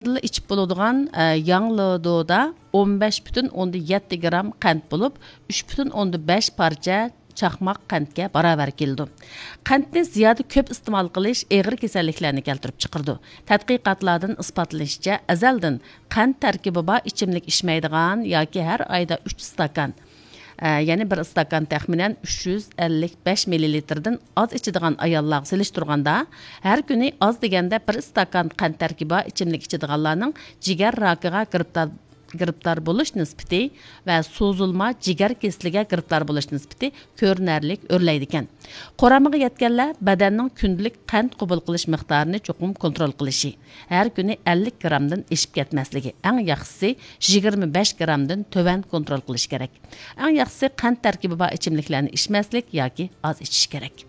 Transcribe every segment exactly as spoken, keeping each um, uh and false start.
ئىچىپ بولىدىغان، ئە، ياڭلىدودا ئون بەش پۈتۈن ئوندىن يەتتە گرام قەنت بولۇپ، ئۈچ پۈتۈن ئوندىن بەش پارچە چاقماق قەنتكە باراۋەر كېلىدۇ. قەنتنى زىيادە كۆپ ئىستېمال قىلىش ئېغىر كېسەللىكلەرنى كەلتۈرۈپ چىقىرىدۇ. تەتقىقاتلاردىن ئىسپاتلىنىشىچە، ئەزەلدىن قەنت تەركىبى بار ئىچىملىك ئىچمەيدىغان ياكى ھەر ئايدا ئۈچ ئىستاكان، ئە، يەنى بىر ئىستاكان تەخمىنەن ئۈچ يۈز ئەللىك بەش مىللىلىتىردىن ئاز ئىچىدىغان ئاياللارغا سېلىشتۇرغاندا، ھەر كۈنى ئاز دېگەندە بىر ئىستاكان قەنت تەركىبى بار ئىچىملىك ئىچىدىغانلارنىڭ جىگەر راكىغا گىرىپتار، گىرىپتار بولۇش نىسبىتى ۋە سوزۇلما جىگەر كېسىلىگە گىرىپتار بولۇش نىسبىتى كۆرۈنەرلىك ئۆرلەيدىكەن. قۇرامىغا يەتكەنلەر بەدەننىڭ كۈندىلىك قەنت قوبۇل قىلىش مىقدارىنى چوقۇم كونترول قىلىشى، ھەر كۈنى ئەللىك گرامدىن ئېشىپ كەتمەسلىكى، ئەڭ ياخشىسى يىگىرمە بەش گرامدىن تۆۋەن كونترول قىلىش كېرەك. ئەڭ ياخشىسى قەنت تەركىبى بار ئىچىملىكلەرنى ئىچمەسلىك ياكى ئاز ئىچىش كېرەك.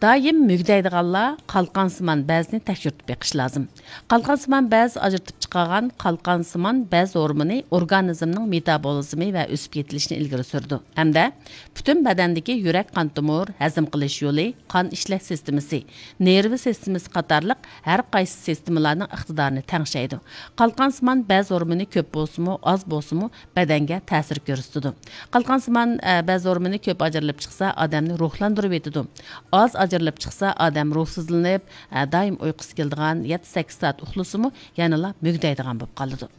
دائىم مۈگدەيدىغانلار قالقانسىمان بەزنى تەكشۈرتۈپ بېقىش لازىم. قالقانسىمان بەز ئاجرىتىپ چىقارغان قالقانسىمان بەز ھورمونى ئورگانىزمنىڭ مېتابولىزمى ۋە ئۆسۈپ يېتىلىشىنى ئىلگىرى سۈرىدۇ ھەمدە پۈتۈن بەدەندىكى يۈرەك قان تومۇر، ھەزىم قىلىش يولى، قان ئىشلەش سىستېمىسى، نېرۋا سىستېمىسى قاتارلىق ھەر قايسى سىستېمىلارنىڭ ئىقتىدارىنى تەڭشەيدۇ. قالقانسىمان بەز ھورمونى كۆپ بولسىمۇ، ئاز بولسىمۇ، بەدەنگە تەسىر كۆرسىتىدۇ. قالقانسىمان، ئە، بەز ھورمونى كۆپ ئاجرىلىپ چىقسا، ئادەمنى روھلاندۇرۇۋېتىدۇ. ئاز ئاجرىلىپ چىقسا، ئادەم روھسىزلىنىپ، ئە، دائىم ئۇيقۇسى كېلىدىغان، يەتتە سەككىز سائەت ئۇخلىسىمۇ، يەنىلا مۈگدەيدىغان بولۇپ قالىدۇ.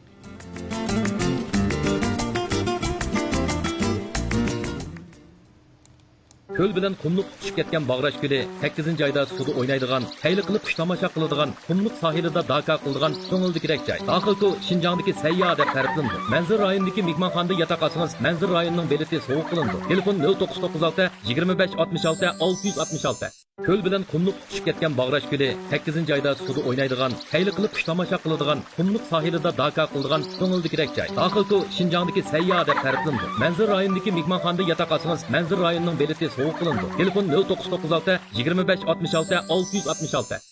كۆل بىلەن قۇملۇق تۇتىشىپ كەتكەن باغراش كۆلى، سەككىزىنچى ئايدا سۇدا ئوينايدىغان، خەيلى قىلىپ قۇش تاماشا قىلىدىغان، قۇملۇق ساھىلىدا داكا قىلىدىغان كۆڭۈلدىكىدەك جاي. داخىل كۆل شىنجاڭدىكى سەيياھ دەپ تەرىپلىنىدۇ. مەنزىرە رايونىدىكى مېھمانخانىدا ياتاق ئالسىڭىز، مەنزىرە رايونىنىڭ بېلىتى سوۋغا قىلىنىدۇ. تېلېفون: نۆل توققۇز توققۇز ئالتە، يىگىرمە بەش ئاتمىش ئالتە، ئالتە يۈز ئاتمىش ئالتە. كۆل بىلەن قۇملۇق تۇتىشىپ كەتكەن باغراش كۆلى، سەككىزىنچى ئايدا سۇدا ئوينايدىغان، خەيلى قىلىپ قۇش تاماشا قىلىدىغان، قۇملۇق ساھىلىدا داكا قىلىدىغان كۆڭۈلدىكىدەك جاي. داخىل كۆل شىنجاڭدىكى سەيياھ دەپ تەرىپلىنىدۇ. مەنزىرە رايونىدىكى مېھمانخانىدا ياتاق ئالسىڭىز، مەنزىرە رايونىنىڭ بېلىتى سوۋغا قىلىنىدۇ. تېلېفون: نۆل توققۇز توققۇز ئالتە، يىگىرمە بەش ئاتمىش ئالتە، ئالتە يۈز ئاتمىش ئالتە.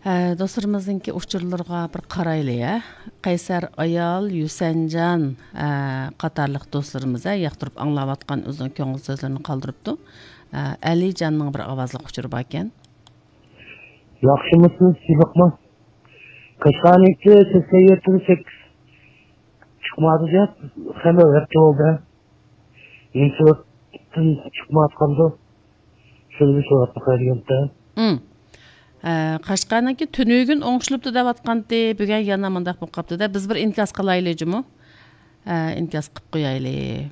ھە، دوستلىرىمىزنىڭكى ئۇچۇرلىرىغا بىر قارايلى، ھە. قەيسەر ئايال، يۈسەنجان، ھە، قاتارلىق دوستلىرىمىز، ھە، ياقتۇرۇپ ئاڭلاۋاتقان ئۆزىنىڭ كۆڭۈل سۆزلىرىنى قالدۇرۇپتۇ. ھە، ئەلىجاننىڭ بىر ئاۋازلىق ئۇچۇرى باركەن. ياخشىمۇسىز، سىلىقمۇ؟ قەشقەرنىڭكى سەكسەن يەتتە سەككىز چىقمادى دەپ، خېلى ھەپتە بولدى. ئىنسۇلتتىن چىقمايۋاتقاندۇ؟ شۇنى بىر سوراپ باقاي دېگەنتىم. ئىم. ئە، قەشقەرنىڭكى تۈنۈگۈن ئوڭشىلىپتۇ دەۋاتقانتى، بۈگۈن يەنە مۇنداق بولۇپ قاپتۇ-دە. بىز بىر ئىنكاس قىلايلى جۇمۇ. ئە، ئىنكاس قىلىپ قويايلى.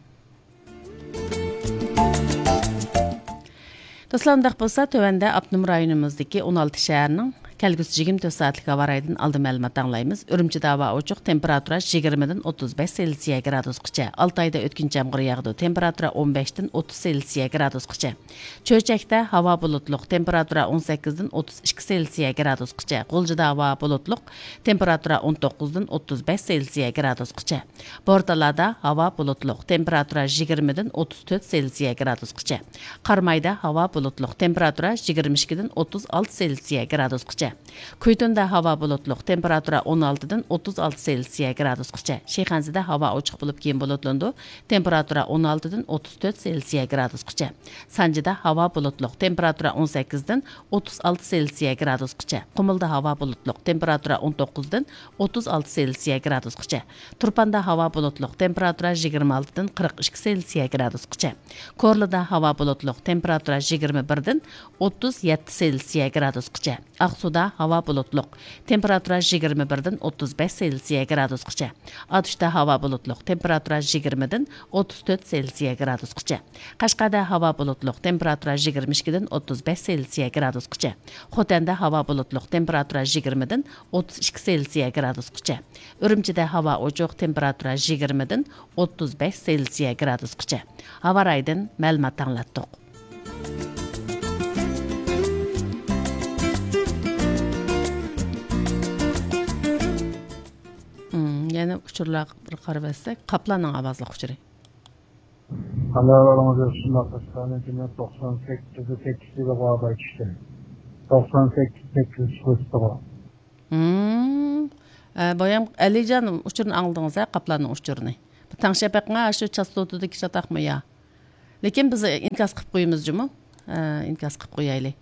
دوستلار، ئۇنداق بولسا، تۆۋەندە ئاپتونوم رايونىمىزدىكى ئون ئالتە شەھەرنىڭ كەلگۈسى يىگىرمە تۆت سائەتلىك ھاۋا رايىدىن ئالدىن مەلۇمات ئاڭلايمىز. ئۈرۈمچىدە ھاۋا ئوچۇق، تېمپېراتۇرا يىگىرمىدىن ئوتتۇز بەش سېلسىيە گرادۇسقىچە. ئالتايدا ئۆتكۈنچى يامغۇر ياغىدۇ، تېمپېراتۇرا ئون بەشتىن ئوتتۇز سېلسىيە گرادۇسقىچە. چۆچەكتە ھاۋا بۇلۇتلۇق، تېمپېراتۇرا ئون سەككىزدىن ئوتتۇز ئىككى سېلسىيە گرادۇسقىچە. غۇلجىدا ھاۋا بۇلۇتلۇق، تېمپېراتۇرا ئون توققۇزدىن ئوتتۇز بەش سېلسىيە گرادۇسقىچە. بورتالادا ھاۋا بۇلۇتلۇق، تېمپېراتۇرا يىگىرمىدىن ئوتتۇز تۆت سېلسىيە گرادۇسقىچە. قارامايدا ھاۋا بۇلۇتلۇق، تېمپېراتۇرا يىگىرمە ئىككىدىن ئوتتۇز ئالتە سېلسىيە گرادۇسقىچە. كۈيتۇندا ھاۋا بۇلۇتلۇق، تېمپېراتۇرا ئون ئالتىدىن ئوتتۇز ئالتە سېلسىيە گرادۇسقىچە. شىخەنزىدە ھاۋا ئوچۇق بولۇپ، كېيىن بۇلۇتلىنىدۇ، تېمپېراتۇرا ئون ئالتىدىن ئوتتۇز تۆت سېلسىيە گرادۇسقىچە. سانجىدا ھاۋا بۇلۇتلۇق، تېمپېراتۇرا ئون سەككىزدىن ئوتتۇز ئالتە سېلسىيە گرادۇسقىچە. قۇمۇلدا ھاۋا بۇلۇتلۇق، تېمپېراتۇرا ئون توققۇزدىن ئوتتۇز ئالتە سېلسىيە گرادۇسقىچە. تۇرپاندا ھاۋا بۇلۇتلۇق، تېمپېراتۇرا يىگىرمە ئالتىدىن قىرىق ئىككى سېلسىيە گرادۇسقىچە. كورلىدا ھاۋا بۇلۇتلۇق، تېمپېراتۇرا يىگىرمە بىردىن ئوتتۇز يەتتە سېلسىيە گرادۇسقىچە. ئاقسۇدا ھاۋا بۇلۇتلۇق، تېمپېراتۇرا يىگىرمە بىردىن ئوتتۇز بەش سېلسىيە گرادۇسقىچە. ئاتۇشتا ھاۋا بۇلۇتلۇق، تېمپېراتۇرا يىگىرمىدىن ئوتتۇز تۆت سېلسىيە گرادۇسقىچە. قەشقەردە ھاۋا بۇلۇتلۇق، تېمپېراتۇرا يىگىرمە ئىككىدىن ئوتتۇز بەش سېلسىيە گرادۇسقىچە. خوتەندە ھاۋا بۇلۇتلۇق، تېمپېراتۇرا يىگىرمىدىن ئوتتۇز ئىككى سېلسىيە گرادۇسقىچە. ئۈرۈمچىدە ھاۋا ئوچۇق، تېمپېراتۇرا يىگىرمىدىن ئوتتۇز بەش سېلسىيە گرادۇسقىچە. ھاۋا رايىدىن مەلۇمات ئاڭلاتتۇق. ئىم، يەنە ئۇچۇرلارغا بىر قارىۋەتسەك، قاپلاننىڭ ئاۋازلىق ئۇچۇرى. ئانا بالىڭىز شۇنداق قىلسىڭىز، توقسان سەككىز سەككىز يىلىغا باي چۈشتى. توقسان سەككىز سەككىز پوستىغا. ھىم. ئە، بايام ئەلىجان ئۇچۇرىنى ئاڭلىدىڭىز ھە، قاپلاننىڭ ئۇچۇرىنى. بۇ تەڭشەپ بېقىڭا، شۇ چاستوتىدىكى چاتاقمۇ يا؟ لېكىن بىز ئىنكاس قىلىپ قويىمىز جۇمۇ. ئە، ئىنكاس قىلىپ قويايلى.